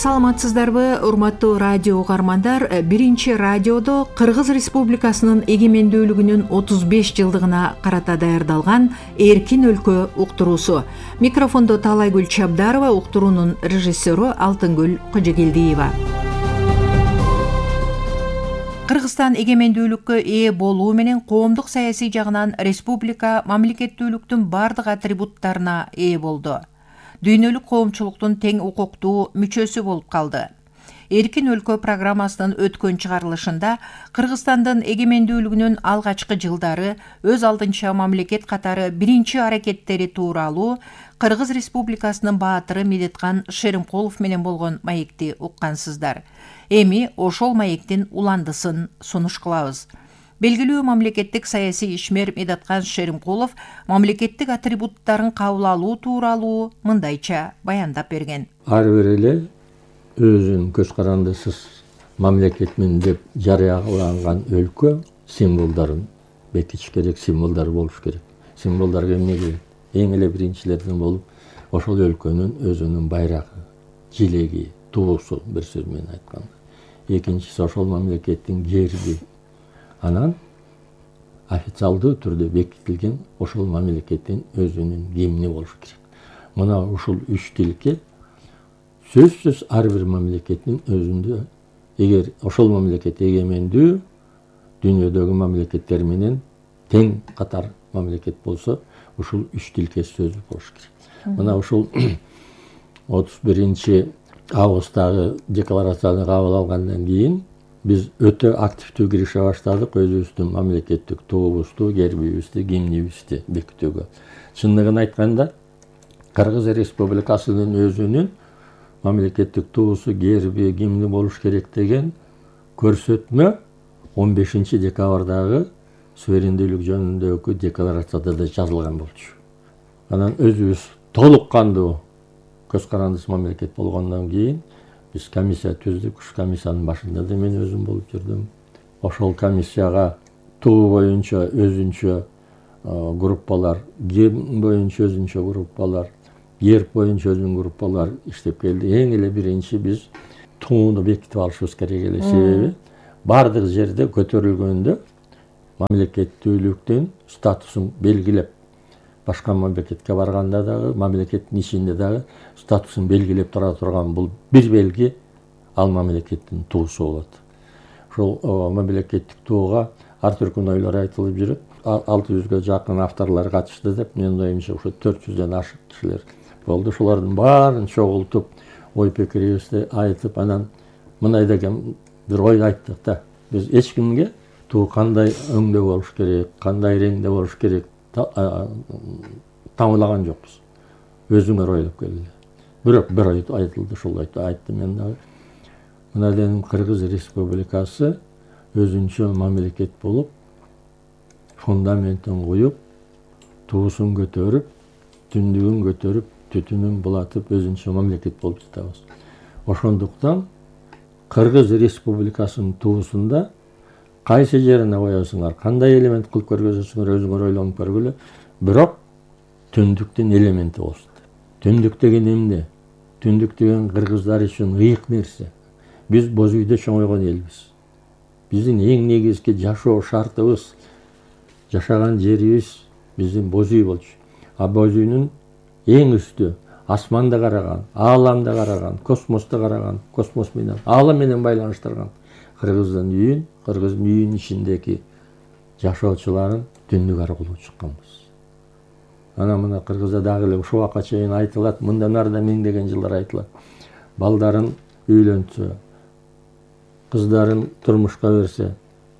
Саламатсыздарбы, урматтуу радио угармандар. Биринчи радиодо Кыргыз Республикасынын эгемендүүлүгүнүн 35 жылдыгына карата даярдалган Эркин өлкө уктуруусу. Микрофондо Таалайгүл Чабдарова, уктуруунун режиссеру Алтынгүл Кожогелдиева. Кыргызстан эгемендүүлүккө ээ болуу менен коомдук саясий жагынан республика мамлекеттүүлүктүн бардык атрибуттарына ээ болду. Дүйнөлүк коомчулуктун тең укуктуу мүчөсү болуп калды. Эркин өлкө программасынын өткөн чыгарылышында Кыргызстандын эгемендүүлүгүнүн алгачкы жылдары өз алдынча мамлекет катары биринчи аракеттери тууралуу Кыргыз Республикасынын баатыры Медеткан Шеримкулов менен болгон маекти уккансыздар. Эми ошол маектин уландысын сунуш кылабыз. Белгилүү мамлекеттик саясий ишмер Медеткан Шеримкулов мамлекеттик атрибуттарын кабыл алуу тууралуу мындайча баяндап берген. Ар бир эле өзүнүн көз карандысыз мамлекетмин деп жарыяланган өлкө символдорун бекитиш керек, символдор болуш керек. Символдор эмне керек? Эң эле биринчилерден болуп, ошол өлкөнүн өзүнүн байрагы, жилеги, туусу, бир сөз менен айтканда. Экинчиси ошол мамлекеттин герби. Анан официалдуу түрдө бекитилген ошол мамлекеттин өзүнүн гимни болуш керек. Мына ушул үч тилке сөзсүз ар бир мамлекеттин өзүндө, эгер ошол мамлекет эгемендүү дүйнөдөгү мамлекеттер менен тең катар мамлекет болсо, ушул үч тилке сөзү болуш керек. Мына ушул 31 августтагы декларацияны кабыл алгандан кийин биз өтө активдүү кирише баштадык өзүбүздүн мамлекеттик туубузду, гербибизди, гимнибизди бекитүүгө. Чындыгын айтканда, Кыргыз Республикасынын өзүнүн мамлекеттик туусу, герби, гимни болуш керек деген көрсөтмө 15 декабрдагы суверендүүлүк жөнүндөгү декларацияда да жазылган болчу. Анан өзүбүз толук кандуу көз карандысыз мамлекет болгондон кийин биз комиссия түздүк. Ушу комиссиянын башында да мен өзүм болуп жүрдүм. Ошол комиссияга туу боюнча өзүнчө группалар, гимн боюнча өзүнчө группалар, герб боюнча өзүнүн группалар иштеп келди. Эң эле биринчи биз тууну бекитип алышыбыз керек эле. Себеби бардык жерде көтөрүлгөндө мамлекеттүүлүктүн статусун белгилеп, башка мамлекетке барганда дагы, мамлекеттин ичинде дагы статусун белгилеп тура турган бул бир белги, ал мамлекеттин туусу болот. Ошол мамлекеттик тууга ар түркүн ойлор айтылып жүрөт. 600-гө жакын авторлор катышты деп, менин оюмча ушу 400дөн ашык кишилер болду. Ошолордун баарын чогултуп, ой пикирибизди айтып, анан мындай деген бир ой айттык да. Биз эч кимге туу кандай өңдө болуш керек, кандай реңде болуш керек тамылаган жокпуз. Өзүңөр ойлоп келгиле. Бирок бир ой айтылды, ушул ойду айттым мен дагы. Мына дедим, Кыргыз Республикасы өзүнчө мамлекет болуп, фундаментин куюп, туусун көтөрүп, түндүгүн көтөрүп, түтүнүн булатып, өзүнчө мамлекет болуп жатабыз. Ошондуктан Кыргыз Республикасынын туусунда кайсы жерине коесуңар, кандай элемент кылып көргөзөсүңөр, өзүңөр ойлонуп көргүлө. Бирок түндүктүн элементи болсун. Түндүк деген эмне? Түндүк деген кыргыздар үчүн ыйык нерсе. Биз боз үйдө чоңойгон элбиз. Биздин эң негизги жашоо шартыбыз, жашаган жерибиз биздин боз үй болчу. А боз үйнүн эң үстү асманды караган, ааламды караган, космосту караган, космос менен, аалам менен байланыштырган кыргыздын үйүн, кыргыздын үйүнүн ичиндеги жашоочуларын түндүк аркылуу чыкканбыз. Анан мына Кыргызда дагы эле ушул убакка чейин айтылат, мындан ары да миңдеген жылдар айтылат. Балдарын үйлөнтсө, кыздарын турмушка берсе,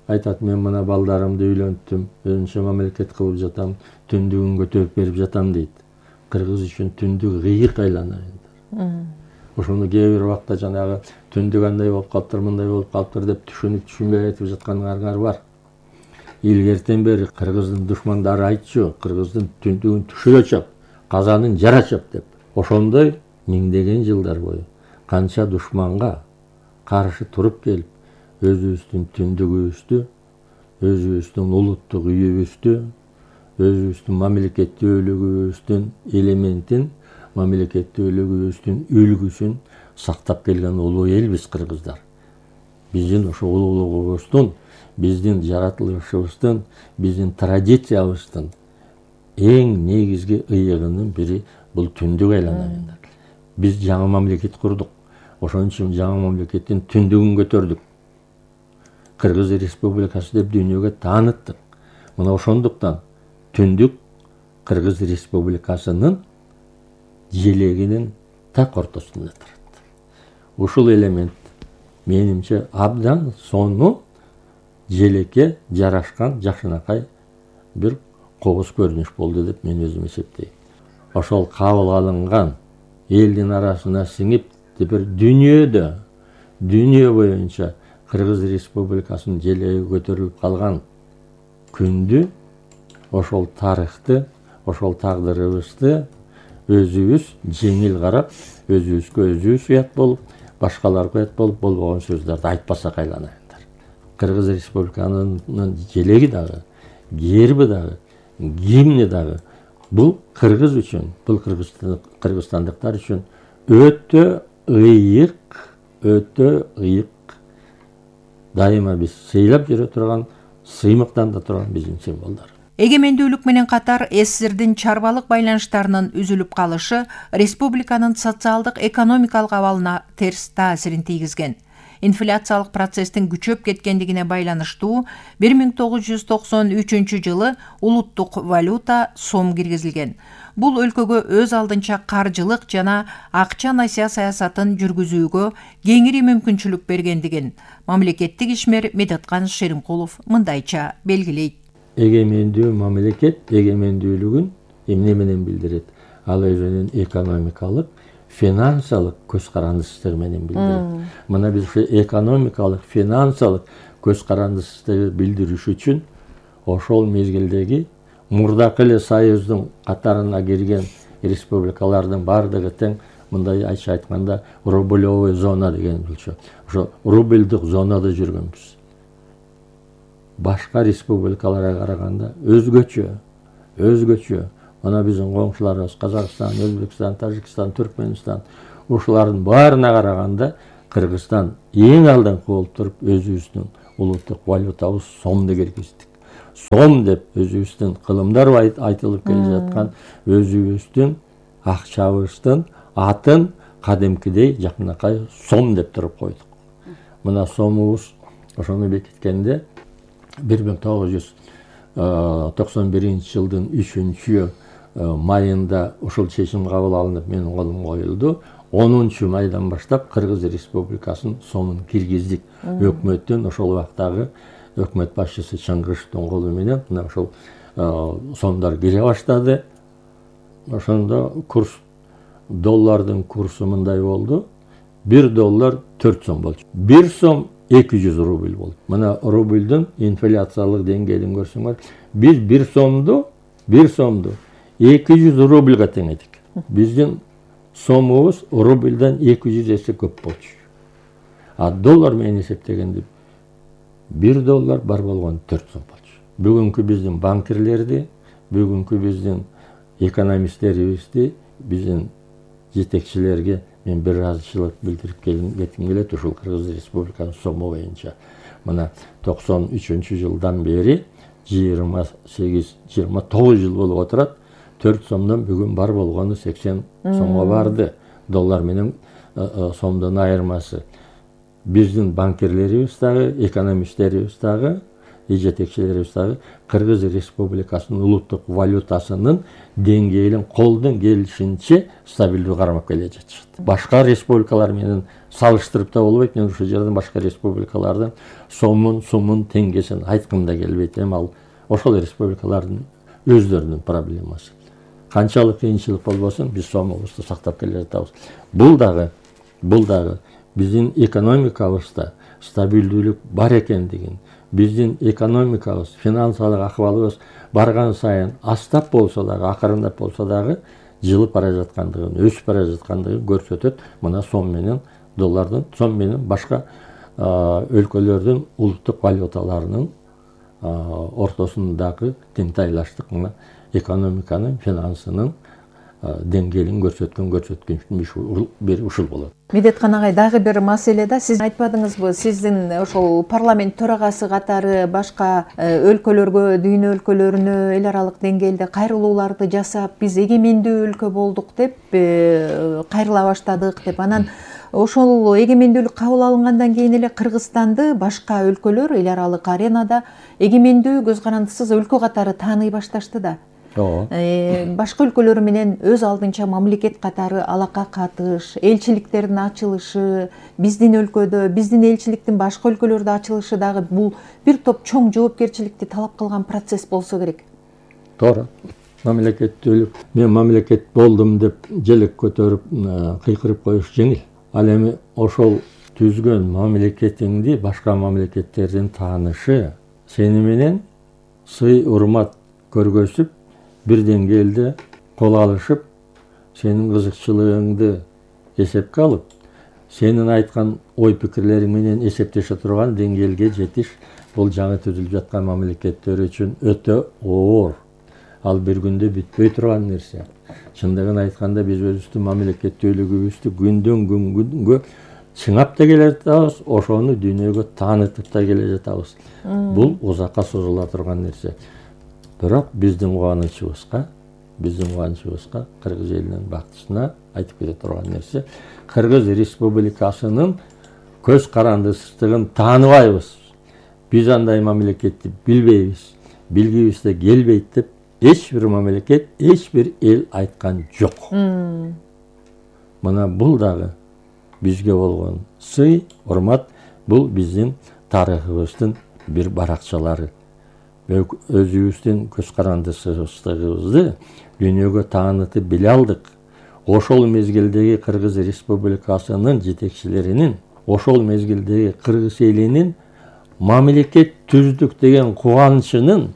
айтат, мен мына балдарымды үйлөнттүм, өзүнчө мамлекет кылып жатам, түндүгүн көтөрүп берип жатам дейт. Кыргыз үчүн түндүк ыйык айлана. Ошону кээ бир убакта жанагы түндүк андай болуп калыптыр, мындай болуп калыптыр деп түшүнбөй айтып жатканыңар бар. Илгертен бери кыргыздын душмандары айтчу, кыргыздын түндүгүн түшүрө чап, казанын жара чап деп. Ошондой миңдеген жылдар бою канча душманга каршы туруп келип, өзүбүздүн түндүгүбүздү, өзүбүздүн улуттук үйүбүздү, өзүбүздүн мамлекеттүүлүгүбүздүн элементин, мамлекеттүүлүгүбүздүн үлгүсүн сактап келген улуу элбиз кыргыздар. Биздин ошо улуулугубуздун, биздин жаратылышыбыздын, биздин традициябыздын эң негизги ыйыгынын бири бул түндүк айланайындар. Биз жаңы мамлекет курдук. Ошон үчүн жаңы мамлекеттин түндүгүн көтөрдүк. Кыргыз Республикасы деп дүйнөгө тааныттык. Мына ошондуктан түндүк Кыргыз Республикасынын желегинин так ортосунда турат. Ушул элемент менимче абдан сонун желекке жарашкан жакшынакай бир кобуз көрүнүш болду деп мен өзүм эсептейм. Ошол кабыл алынган элдин арасына сиңип бир дүйнө боюнча Кыргыз Республикасынын желеги көтөрүлүп калган күндү, ошол тарыхты, ошол тагдырыбызды өзүбүз жеңил карап, өзүбүзгө өзүбүз уят болуп, башкаларга уят болуп, болбогон сөздөрдү айтпасак айланайындар. Кыргыз Республикасынын желеги дагы, герби дагы, гимни дагы бул кыргыз үчүн, бул кыргызстандыктар үчүн өтө ыйык, дайыма биз сыйлап жүрө турган, сыймыктанда турган биздин символдор. Эгемендүүлүк менен катар СССРдин чарбалык байланыштарынын үзүлүп калышы республиканын социалдык экономикалык абалына терс таасирин тийгизген. Инфляциялык процесстин күчөп кеткендигине байланыштуу 1993 жылы улуттук валюта сом киргизилген. Бул өлкөгө өз алдынча каржылык жана акча насыя саясатын жүргүзүүгө кеңири мүмкүнчүлүк бергендигин мамлекеттик ишмер Медеткан Шеримкулов мындайча белгилейт. Эгемендүү мамлекет эгемендүүлүгүн эмне менен билдирет? Ал өзүнүн экономикалык, финансалык көз карандысыздыгы менен билдирет. Мына биз ушу экономикалык, финансалык көз карандысыздыгы билдириш үчүн ошол мезгилдеги мурдакы эле Союздун катарына кирген республикалардын бардыгы тең, мындай айтканда, рублевой зона деген болчу. Ошо рубльдук зонада жүргөнбүз. Башка республикаларга караганда өзгөчө. Мына биздин коңшуларыбыз Казакстан, Өзбекстан, Тажикстан, Түркмөнстан, ушулардын баарына караганда Кыргызстан эң алдыңкы болуп туруп өзүбүздүн улуттук валютабыз сомду киргиздик. Сом деп өзүбүздүн кылымдар айтылып келе жаткан өзүбүздүн акчабыздын атын кадимкидей жакынакай сом деп туруп койдук. Мына сомубуз ошону бекиткенде 1991 жылдын 3 майында ушул чечим кабыл алынып менин колумга коюлду. 10 майдан баштап Кыргыз Республикасынын сомун киргиздик. Өкмөттүн ошол убактагы өкмөт башчысы Чыңгышевдин колу менен мына ошол сомдор кире баштады. Ошондо доллардын курсу мындай болду. 1 доллар 4 сом болчу. 1 сом 200 рубль болду. Мына рубльдүн инфляциялык деңгээлин көрсөңөр, биз 1 сомду 200 рубльга тең эдик. Биздин сомубуз рубльдан 200 эсе көп болчу. А доллар менен эсептегенде 1 доллар бар болгон 4 сом болчу. Бүгүнкү биздин банкирлерди, бүгүнкү биздин экономисттерибизди, биздин жетекчилерге мен бир ыраазычылык билдирип кетким келет ушул Кыргыз Республикасынын сому боюнча. Мына 93 жылдан бери 29 жыл болуп отурат. 4 сомдон бүгүн бар болгону 80 сомго барды. Доллар менен сомдун айырмасы. Биздин банкирлерибиз дагы, экономисттерибиз дагы, жетекчилерибиз дагы Кыргыз Республикасынын улуттук валютасынын деңгээлин колдон келишинче стабилдүү кармап келе жатышат. Башка республикалар менен салыштырып да болбойт. Мен ушул жерден башка республикалардын сомун, сумун, теңгесин айткым да келбейт. Ал ошол республикалардын өздөрүнүн проблемасы. Канчалык кыйынчылык болбосун, биз сомубузду сактап келе жатабыз. Бул дагы биздин экономикабызда стабилдүүлүк бар экендигин, биздин экономикабыз, финансылык акыбалыбыз барган сайын астап болсо дагы, акырындап болсо дагы жылып бара жаткандыгын, өсүп бара жаткандыгын көрсөтөт. Мына сом менен доллардын, сом менен башка өлкөлөрдүн улуттук валюталарынын ортосундагы теңтайлаштык, мына экономиканын, финансынын деңгээлин көрсөткөн бир ушул болот. Медеткан агай, дагы бир маселе да, сиз айтпадыңызбы, сиздин ошол парламент төрагасы катары башка өлкөлөргө, дүйнө өлкөлөрүнө эл аралык деңгээлде кайрылууларды жасап, биз эгемендүү өлкө болдук деп, кайрыла баштадык деп, анан ошол эгемендүүлүк кабыл алынгандан кийин эле Кыргызстанды башка өлкөлөр эл аралык аренада эгемендүү, көз карандысыз өлкө катары тааный башташты да. Башка өлкөлөр менен өз алдынча мамлекет катары алака катыш, элчиликтердин ачылышы, биздин өлкөдө, биздин элчиликтин башка өлкөлөрдө ачылышы дагы бул бир топ чоң жоопкерчиликти талап кылган процесс болсо керек. Туура. Мамлекеттүүлүк, мен мамлекет болдум деп желек көтөрүп кыйкырып коюш жеңил. Ал эми ошол түзгөн мамлекетиңди башка мамлекеттердин таанышы, сени менен сый урмат көргөзүп, бир деңгээлде кол алышып, сенин кызыкчылыгыңды эсепке алып, сенин айткан ой пикирлериң менен эсептеше турган деңгээлге жетиш, бул жаңы түзүлүп жаткан мамлекеттер үчүн өтө оор. Ал бир күндө бүтпөй турган нерсе. Чындыгын айтканда биз өзүбүздүн мамлекеттүүлүгүбүздү күндөн күнгө чыңап да келе жатабыз, ошону дүйнөгө таанытып да келе жатабыз. Бул узакка созула турган нерсе. Бирок биздин кубанычыбызга, Кыргыз элинин бактысына айтып кете турган нерсе, Кыргыз Республикасынын көз карандысыздыгын тааныбайбыз. Биз андай мамлекетти билбейбиз, билгибиз да келбейт деп эч бир мамлекет, эч бир эл айткан жок. Мына бул дагы бизге болгон сый, урмат, бул биздин тарыхыбыздын бир баракчалары. Өзүбүздүн көз карандысыздыгыбызды дүйнөгө таанытып биле алдык. Ошол мезгилдеги Кыргыз Республикасынын жетекчилеринин, ошол мезгилдеги Кыргыз элинин мамлекет түздүк деген кубанычынын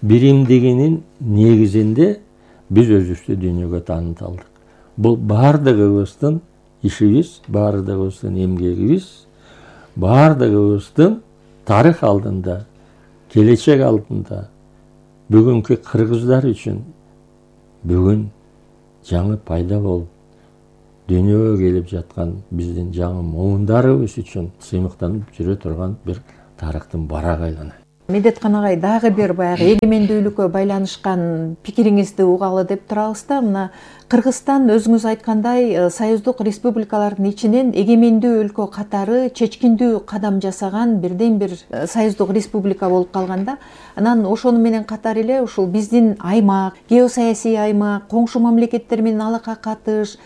биримдигинин негизинде биз өзүбүздү дүйнөгө тааныта алдык. Бул бардыгыбыздын ишибиз, бардыгыбыздын эмгегибиз, бардыгыбыздын тарых алдында, келечек алдында бүгүнкү кыргыздар үчүн бүгүн жаңы пайда болуп дүйнөгө келип жаткан биздин жаңы муундарыбыз үчүн сыймыктанып жүрө турган бир тарыхтын барак айлана. Медеткан агай, дагы бир баягы эгемендүүлүккө байланышкан пикириңизди угалы деп турабыз да. Мына Кыргызстан өзүңүз айткандай союздук республикалардын ичинен эгемендүү өлкө катары чечкиндүү кадам жасаган бирден бир союздук республика болуп калганда, анан ошону менен катар эле ушул биздин аймак, геосаясий аймак, коңшу мамлекеттер менен алака катыш,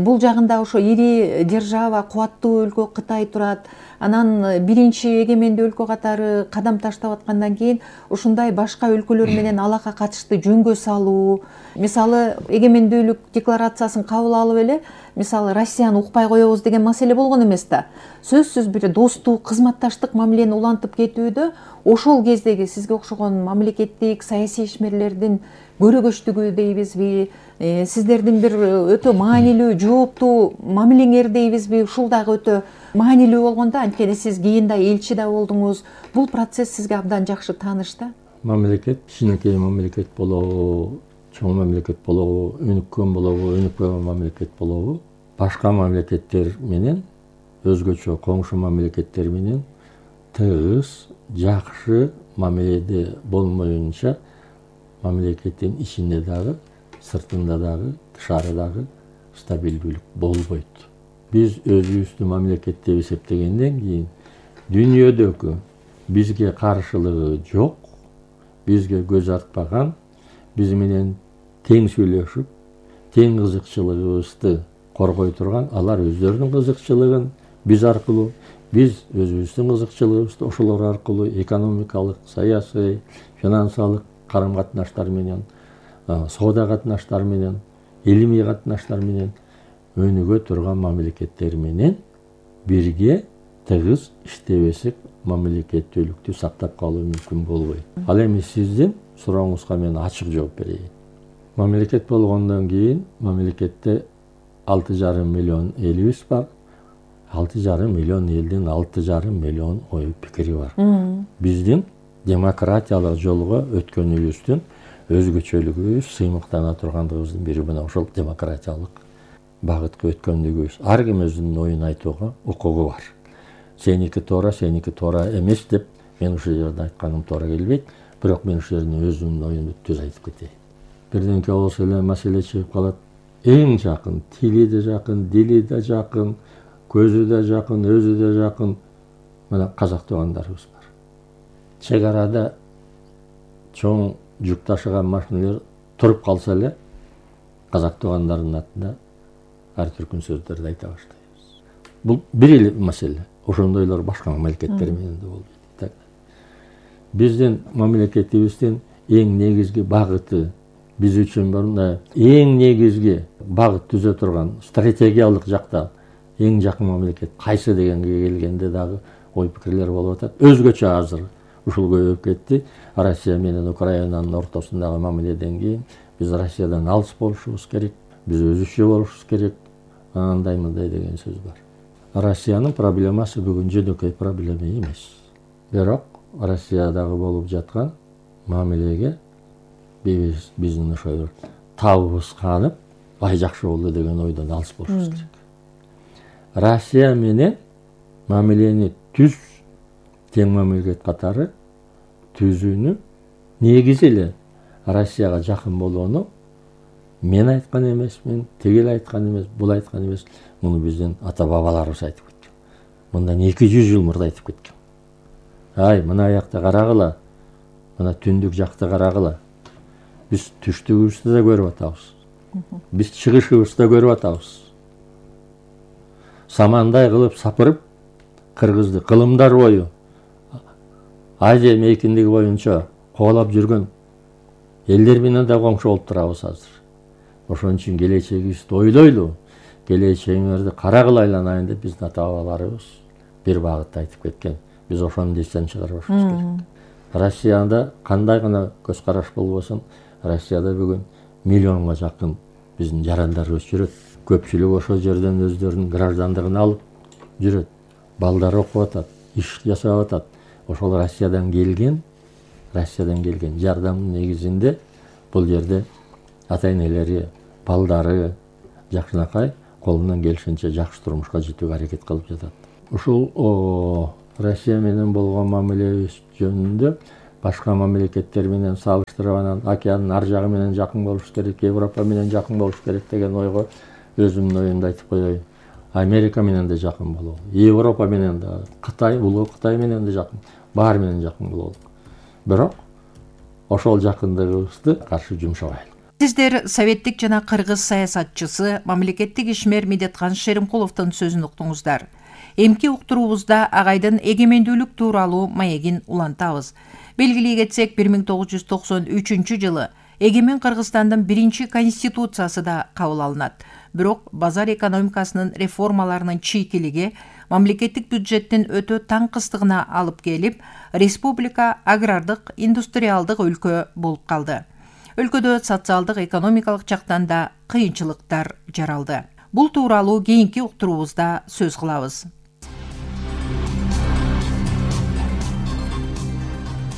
бул жагында ошо ири держава, кубаттуу өлкө Кытай турат. Анан биринчи эгемендүү өлкө катары кадам таштап аткандан кийин ушундай башка өлкөлөр менен алака катышты жөнгө салуу, мисалы эгемендүүлүк декларациясын кабыл алып эле, мисалы Россияны укпай коебуз деген маселе болгон эмес да. Сөзсүз бир достук, кызматташтык мамилени улантып кетүүдө ошол кездеги сизге окшогон мамлекеттик саясий ишмерлердин көрөгөчтүгү дейбизби, сиздердин бир өтө маанилүү, жооптуу мамилеңер дейбизби, ушул дагы өтө маанилүү болгондо, анткени сиз кийин да элчи да болдуңуз. Бул процесс сизге абдан жакшы тааныш да. Мамлекет кичинекей мамлекет болобу, чоң мамлекет болобу, өнүккөн болобу, өнүкпөгөн мамлекет болобу, башка мамлекеттер менен, өзгөчө коңшу мамлекеттер менен тыгыз, жакшы мамиледе болмоюнча мамлекеттин ичинде дагы, сыртында дагы, тышары дагы стабилдүүлүк болбойт. Биз өзүбүздү мамлекет деп эсептегенден кийин дүйнөдөгү бизге каршылыгы жок, бизге көз артпаган, биз менен тең сүйлөшүп, тең кызыкчылыгыбызды коргой турган, алар өздөрүнүн кызыкчылыгын биз аркылуу, биз өзүбүздүн кызыкчылыгыбызды ошолор аркылуу экономикалык, саясий, финансылык карым-катнаштар менен, соода катнаштар менен, илимий катнаштар менен өнүгө турган мамлекеттер менен бирге тыгыз иштебесек мамлекеттүүлүктү сактап калуу мүмкүн болбойт. Ал эми сиздин сурооңузга мен ачык жооп берейин. Мамлекет болгондон кийин мамлекетте 6,5 миллион элибиз бар. 6,5 миллион элдин 6,5 миллион ой пикири бар. Биздин демократиялык жолго өткөнүбүздүн өзгөчөлүгүбүз, сыймыктана тургандыгыбыздын бири мына ошол демократиялык багытка өткөндүгүбүз. Ар ким өзүнүн оюн айтууга укугу бар. Сеники туура эмес деп мен ушул жерде айтканым туура келбейт, бирок мен ушул жерден өзүмдүн оюмду түз айтып кетейин. Бирденке болсо эле маселе чыгып калат. Эң жакын, тили да жакын, дили да жакын, көзү да жакын, өзү да жакын мына казак туугандарыбыз бар. Чек арада чоң жүк ташыган машиналар туруп калса эле казак туугандарынын атында ар түркүн сөздөрдү айта баштайбыз. Бул бир эле маселе. Ошондойлор башка мамлекеттер менен да болбойт. Биздин мамлекетибиздин эң негизги багыты, биз үчүн мындай эң негизги багыт түзө турган стратегиялык жакта эң жакын мамлекет кайсы дегенге келгенде дагы ой пикирлер болуп атат. Өзгөчө азыр ушул көбөйүп кетти. Россия менен Украинанын ортосундагы мамиледен кийин биз Россиядан алыс болушубуз керек, биз өзүчө болушубуз керек, андай мындай деген сөз бар. Россиянын проблемасы бүгүн жөнөкөй проблема эмес. Бирок Россиядагы болуп жаткан мамилеге биздин ошо табыбыз канып, бай жакшы болду деген ойдон алыс болушубуз керек. Россия менен мамилени түз тең мамлекет катары түзүүнү негизи эле Россияга жакын болууну мен айткан эмесмин, тигил айткан эмес, бул айткан эмес. Муну биздин ата бабаларыбыз айтып кеткен. Мындан 200 жыл мурда айтып кеткен. Ай, мына аякта карагыла, мына түндүк жакты карагыла. Биз түштүгүбүздү да көрүп атабыз. Биз чыгышыбызды да көрүп атабыз. Самандай кылып сапырып кыргызды кылымдар бою Азия мейкиндиги боюнча коолап жүргөн элдер менен да коңшу болуп турабыз азыр. Ошон үчүн келечегибизди ойлойлу, келечегиңерди карагыла айланайын деп биздин ата бабаларыбыз бир багытта айтып кеткен. Биз ошону эстен чыгарбашыбыз керек. Россияда кандай гана көз караш болбосун, Россияда бүгүн миллионго жакын биздин жарандарыбыз жүрөт. Көпчүлүк ошол жерден өздөрүнүн граждандыгын алып жүрөт. Балдары окуп атат, иш жасап атат. Ошол Россиядан келген жардамдын негизинде бул жерде ата энелери, балдары жакшынакай колунан келишинче жакшы турмушка жетүүгө аракет кылып жатат. Ушул Россия менен болгон мамилебиз жөнүндө башка мамлекеттер менен салыштырып анан океандын ар жагы менен жакын болуш керек, Европа менен жакын болуш керек деген ойго өзүмдүн оюмду айтып коеюн. Америка менен да жакын бололу, Европа менен да, Кытай, улуу Кытай менен да жакын, баары менен жакын бололу. Бирок ошол жакындыгыбызды каршы жумшабайлы. Сиздер советтик жана кыргыз саясатчысы, мамлекеттик ишмер Медеткан Шеримкуловдун сөзүн уктуңуздар. Эмки уктуруубузда агайдын эгемендүүлүк тууралуу маегин улантабыз. Белгилей кетсек, 1993 жылы эгемен Кыргызстандын биринчи конституциясы да кабыл алынат. Бирок базар экономикасынын реформаларынын чийкилиги мамлекеттик бюджеттин өтө таңкыстыгына алып келип, республика агрардык, индустриалдык өлкө болуп калды. Өлкөдө социалдык, экономикалык жактан да кыйынчылыктар жаралды. Бул тууралуу кийинки уктуруубузда сөз кылабыз.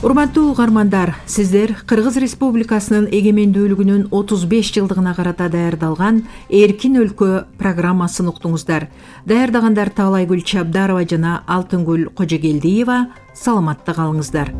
Урматтуу угармандар, сиздер Кыргыз Республикасынын эгемендүүлүгүнүн 35 жылдыгына карата даярдалган Эркин өлкө программасын уктуңуздар. Даярдагандар Таалайгүл Чабдарова жана Алтынгүл Кожогелдиева. Саламатта калыңыздар.